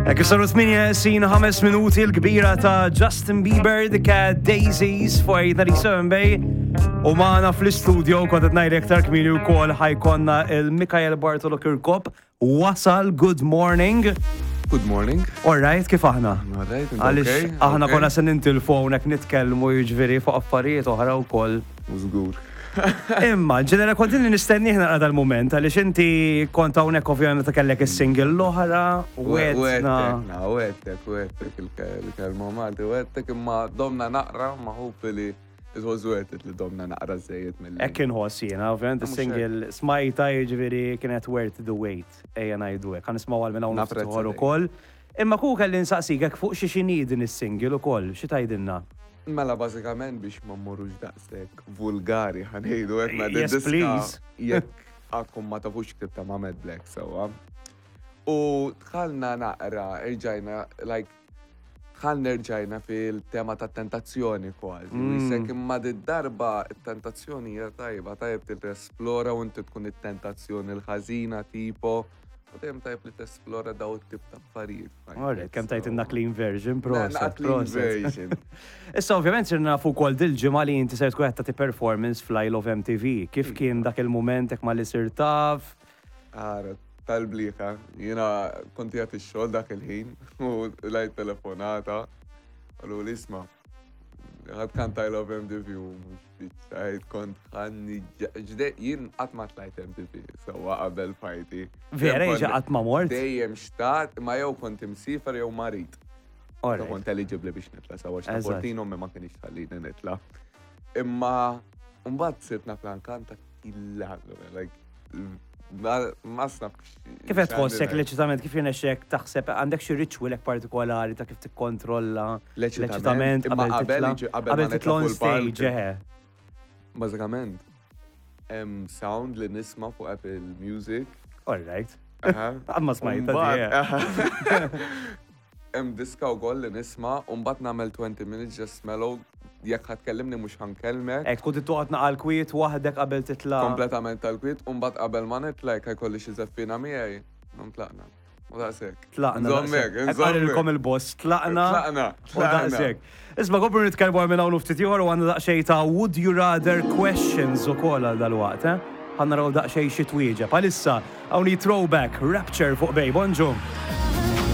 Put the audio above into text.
Hekk kif saru 8 sin 5 minuti l-kbira ta' Justin Bieber dika Daisies fuq 897 Bay. U maħna fl-istudio kont qed ngħid aktar kmieni wkoll ħajkonna il-Mikael Bartolo Kirkop wasal good morning. Good morning. All right, kif aħna? All right, Għaliex aħna konna se nintilfu hawnhekk nitkellmu jiġifieri fuq affarijiet oħra wkoll. Żgur. Imma, ġenera kont inni nistennih naqra dal-moment, għaliex inti kont hawnhekk ovvjament meta kellek is-single l-oħra, u għedna. Wettek, wettek il-kelma Malti, wettek imma domna naqra ma hopefully it was worth it li domna naqra żejjed mill. Hekk inħoss jiena, ovvjament is-single smajta jiġifieri kienet worth the wait, ejja ngħidu hekk. Ħa nismgħu għal minn hawn ftit ieħor ukoll. Imma kieku kelli nsaqsik hekk fuq xi x'inhi din is-single ukoll, xi tgħidilna? Mela bażikament biex ma mmorrux daqshekk vulgari ħa ngħidu hekk ma Yes please. Jekk għadkom ma tafux ktibta ma' Mad Black sewwa. U dħalna naqra, irġajna like dħalna rġajna fil-tema tat-tentazzjoni kważi. Mm. Jisek imma darba it-tentazzjoni hija tajba, tajb tirresplora u inti tkun it-tentazzjoni l-ħażina tipo. U dejjem tajb li tesplora daw it-tip ta' affarijiet. Alright, kemm tajt inna clean version, proset. Clean version. Issa ovvjament sirna nafu wkoll dil-ġimgħa li inti ser tkun qed tagħti performance fl-Isle of MTV. Kif kien dak il-mument hekk malli sirt taf? Ara, tal-bliħa, jiena kont qiegħed ix-xogħol dak il-ħin u lajt telefonata. Qaluli isma' ħa tkanta I Love MTV u mhux Spiċċajt kont ħanni ġde jien qatt ma tlajt MTV sewwa qabel fajti. Vera jiġi qatt ma mort? Dejjem xtaqt ma jew kont imsiefer jew marid. Kont eligibbli biex nitla' sewwa x'ta' ommi ma kienx tħallini nitla'. Imma mbagħad sirt naf nkanta killa like ma snaf. Kif qed tħossek l-eċitament, kif jirnexxek taħseb għandek xi ritual hekk partikolari ta' kif tikkontrolla l-eċitament qabel qabel titla' on stage, eħe. Bażikament, hemm sound li nisma' fuq Apple Music. All right. Amma smajta. Hemm diska wkoll li nisma' u mbagħad nagħmel 20 minutes just mellow jekk ħa tkellimni mhux ħa nkellmek. Hekk tkun trid toqgħod naqa' l-kwiet waħdek qabel titla'. Kompletament tal-kwiet u mbagħad qabel ma nitla' jekk ħa jkolli xi żeffina miegħi, nqum tlaqna. U daqshekk. Tlaqna. Nżommek, nżommek. Qalilkom il-boss, tlaqna. Tlaqna. U daqshekk. Isma' komplu nitkellmu għal minn hawn u ftit ieħor u għandna daqsxejn ta' would you rather questions ukoll għal dalwaqt, eh? Ħa naraw daqsxejn xi twieġeb. Għalissa hawn hi throwback, Rapture fuq Bay. Bonġu.